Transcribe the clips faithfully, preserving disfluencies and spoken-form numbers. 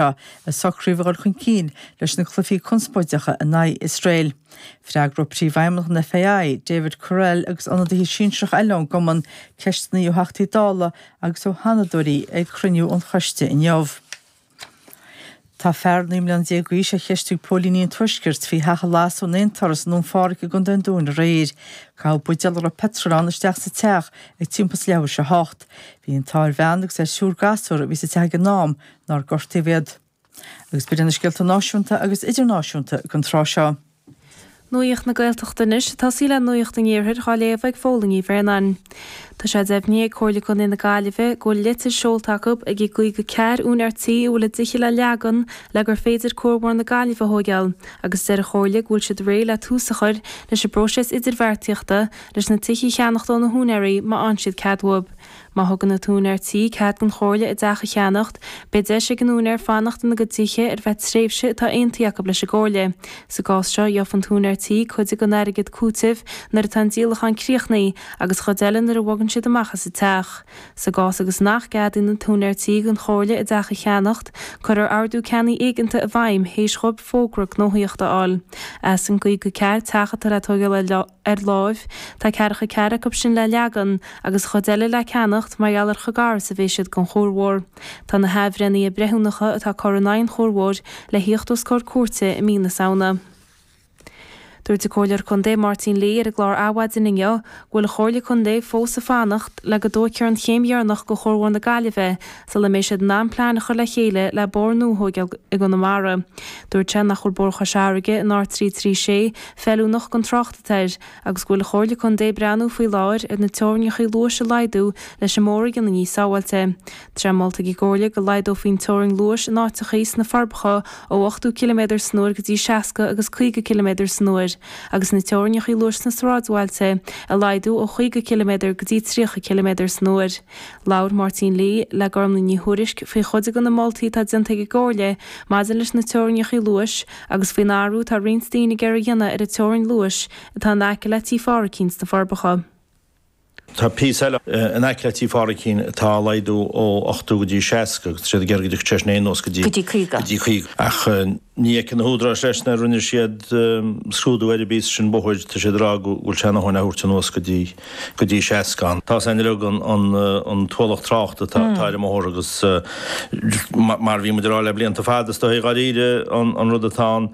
seo a socraíodh a dhul chun cinn leis na cluichí conspóideacha in aghaidh Iosrael. Freagróidh Príomhfheidhmeannach an FAI, David Courell agus ionadaithe sinsearacha eile ón gcumann ceisteanna ó Theachtaí Dála agus ó Sheanadóirí ag cruinniú an choiste inniu. Tá fear naoi mbliana déag d'aois á cheistiú ag póilíní an Tuaiscirt faoi theach a lasadh in aon turas i nDún Phádraig i gContae an Dúin aréir. Caitheadh buidéal a raibh peitreal ann isteach sa teach ag timpeall is leathuair tar éis a hocht. Bhí an t-ádh ar bhean agus ar thriúr gasúr a bhí sa teach ag an am nár gortaíodh iad. Agus b'in na scéalta náisiúnta agus idirnáisiúnta don tráth seo. Nuacht na Gaeltachta anois, ag tosaí le Nuacht an Iarthair dhá léamh ag Fódhla Ní Bhraonáin. Tá sé deimhnithe ag Comhairle Contae na Gaillimhe go bhfuil litir seolta acu ag ag guí go cear úinéir tí a bhfuil a dtithe le leagan le gur féidir Cuarbhóthar na Gaillimhe a thóigeáil agus deir an Chomhairle go bhfuil siad réidh le tús a chur leis an bpróiseas idirbheartaíochta leis na tithe a cheannacht ó na húinéirí má fhaigheann siad cead uathub. Má thugann an t-úinéir tí cead don Chomhairle a dteach a cheannacht, beidh deis ag an úinéir fanacht ina gcuid tithe ar feadh tréimhse atá aontaithe acu leis an gComhairle. Sa gcás seo, gheobhaidh an t-úinéir tí cuid den airgead cúitimh nuair atá an díolachán críochnaithe agus chuid eile nuair a bhogann siad amach as an teach. Sa gcás agus nach gceadaíonn an t-úinéir tí don Chomhairle a dteach a cheannacht, cuirfear ordú ceannaigh éigeanta i bhfeidhm théis dhóibh fógra gnóthaíochta a fháil. As an gcaoga ceathair teach atá le tógáil ar láimh, tá ceathracha ceathair acu sin le leagan agus chuid eile le ceannacht mar gheall ar chomh gar is a bhí siad don chuarbhóthar. Tá na hathbhreithnithe breithiúnacha atá curtha in aghaidh an chuarbhóthair le thíocht os comhair cúirte i mí na Samhna. Dúirt an Comhairleoir Contae Máirtín Lee ar an gclár Adhmhaidin inniu go bhfuil an Chomhairle Contae fós ag fanacht le go dtógfar an chéim dheireanach de Chuarbhóthar na Gaillimhe sula mbeidh siad in ann plean a chur le chéile le bóthar nua a thóigeáil i gConamara. Dúirt sé nach bhfuil Bóthar Chois Fharraige an R trí trí sé feiliúnach don trácht atá air agus go bhfuil an Chomhairle Contae ag breathnú faoi láthair ar na teorainneacha luais a laghdú leis an mbóthar a dhéanamh níos sábháilte. Tá sé molta ag an gComhairle go laghdófaí an teorainn luais in áiteachaí sna Forbacha ó ochtó ciliméadar san uair go dtí seasca agus caoga ciliméadar san uair agus na teorainneacha luais sna sráidbhailte a laghdú ó chaoga ciliméadar go dtí tríocha ciliméadar san uair. Labhair Máirtín Lee le Gormlaith Ní Thuairisg faoi chuid de na moltaí atá déanta ag an gComhairle maidir leis na teorainneacha luais agus faoin athrú atá roinnt daoine ag iarraidh a dhéanamh ar an teorainn luais atá in aice le Tí Phádraicín sna Forbacha. Tá píosa eile in aice le Tí Phádraicín atá á laghdú ó ochtó go dtí seasca agus tá siad ag iarraidh go dtiocfadh sé sin anuas go dtí Go dtí caoga. go dtí caoga. Ach ní fheiceann na húdaráis leis nuair a rinne siad scrúdú ar an bpíosa sin bóthair, tá siad ag rá go bhfuil sé ina dhóthain a thabhairt anuas go dtí go dtí seasca. Tá sé uilig an an an t-ualach tráchta atá atá ar an mbóthar agus mar a bhí muid ag rá le blianta fada is dóigh dháiríre an an rud atá ann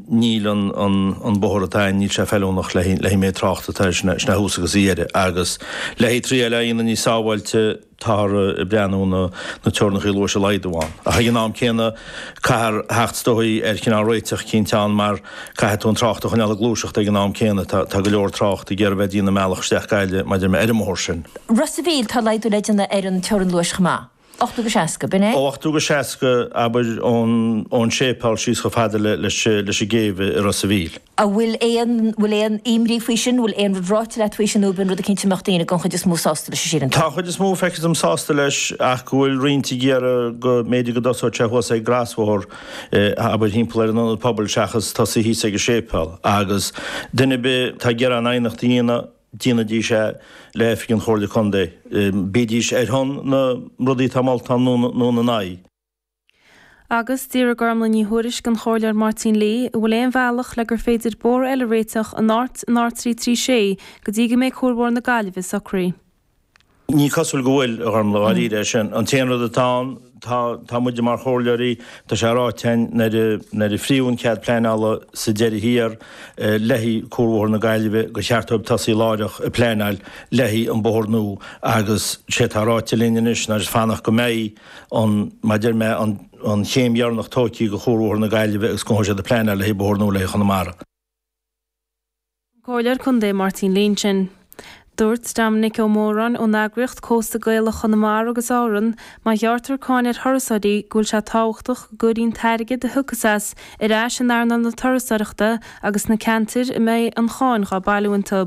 níl an an an bóthar atá ann níl sé feiliúnach le le haghaidh méid tráchta atá sna sna thuas agus a dheireadh agus le haghaidh triail a dhéanamh níos sábháilte táthar ag breathnú na na teorainneacha luais a laghdú ann. Ach ag an am céanna caithfear theacht is dóigh ar chineál réiteach eicínt ann mar caithfidh tú an trácht a choinneáil ag gluaiseacht ag an am céanna. Tá tá go leor trácht ag iarraidh bheith ag déanamh a mbealach isteach Gaillimh maidir le ar an mbóthar sin. Ros a' Mhíl, tá laghdú le déanamh ar an teorainn luais chomh maith. Ochtó go seasca, b'in é? Ó ochtó go seasca, abair, ón ón séipéal síos chomh fada le leis leis an gcéibh i Ros a' Mhíl. An bhfuil aon bhfuil aon imní faoi sin, bhfuil aon rud ráite leat faoi sin nó b'in rud eicínt a mbeadh daoine den chuid is mó sásta leis, sílim tú? Tá an chuid is mó feictear dom sásta leis ach go bhfuil roinnt ag iarraidh go mb'fhéidir go dtosódh sé thuas ag an gcrosbhóthar, abair, thimpeall ar an ionad pobail seachas tosaí thíos ag an séipéal. Agus duine ar bith atá ag iarraidh an aighneacht a dhéanamh, déanaidís é le Oifig an Chomhairle Contae, bídís ar shon na rudaí atá molta ann nó ina n-aghaidh. Agus d'fhiafraigh Gormlaith Ní Thuairisg den Chomhairleoir Máirtín Lee an bhfuil aon bhealach le gur féidir bóthar eile a réiteach in áit an R trí trí sé go dtí go mbeidh Cuarbhóthar na Gaillimhe socraithe. Ní cosúil go bhfuil, a Ghormlaith, dháiríre é sin. An t-aon rud atá ann, tá, tá muide mar chomhairleoirí, tá sé ráite againn nuair a, nuair a fríodh an cead pleanála sa deireadh thiar le haghaidh Cuarbhóthar na Gaillimhe gur cheart dóibh tosaí láithreach ag pleanáil le haghaidh an bóthar nua agus sé atá ráite linn anois ná just fanacht go mbeidh an, mar a deir mé, an, an chéim dheireanach tógtha de Chuarbhóthar na Gaillimhe agus go dtosóidh siad ag pleanáil le haghaidh bóthar nua le haghaidh Chonamara. Comhairleoir Contae Máirtín Lee ansin. Dúirt Dominic Ó Móráin ón eagraíocht Cósta Gaelach Chonamara agus Árann má ghearrtar cáin ar thurasóirí go bhfuil sé tábhachtach go gcuirfí an t-airgead a thiocfas as ar ais in earnáil na turasóireachta agus sna ceantair a mbeidh an cháin dhá bailiú iontu.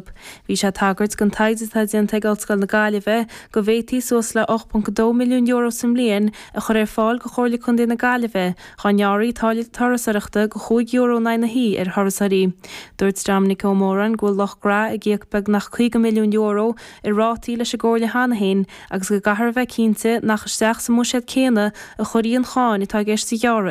Bhí sé ag tagairt don taighde atá déanta ag Ollscoil na Gaillimhe go bhféadfaí suas le ocht ponc dó milliún euro sa mbliain a chur ar fáil do Chomhairle Contae na Gaillimhe Dá ngearrfaí táille turasóireachta de chúig euro in aghaidh an tí ar thurasóirí. Dúirt Dominic Ó Móráin go bhfuil Loch Gra ag íoc beagnach caoga milliún euro euro i rátaí leis an gComhairle cheana féin agus go gcaithfear a bheith cinnte nach isteach sa mbuiséad céanna a chuirfí an cháin atá i gceist a ghearradh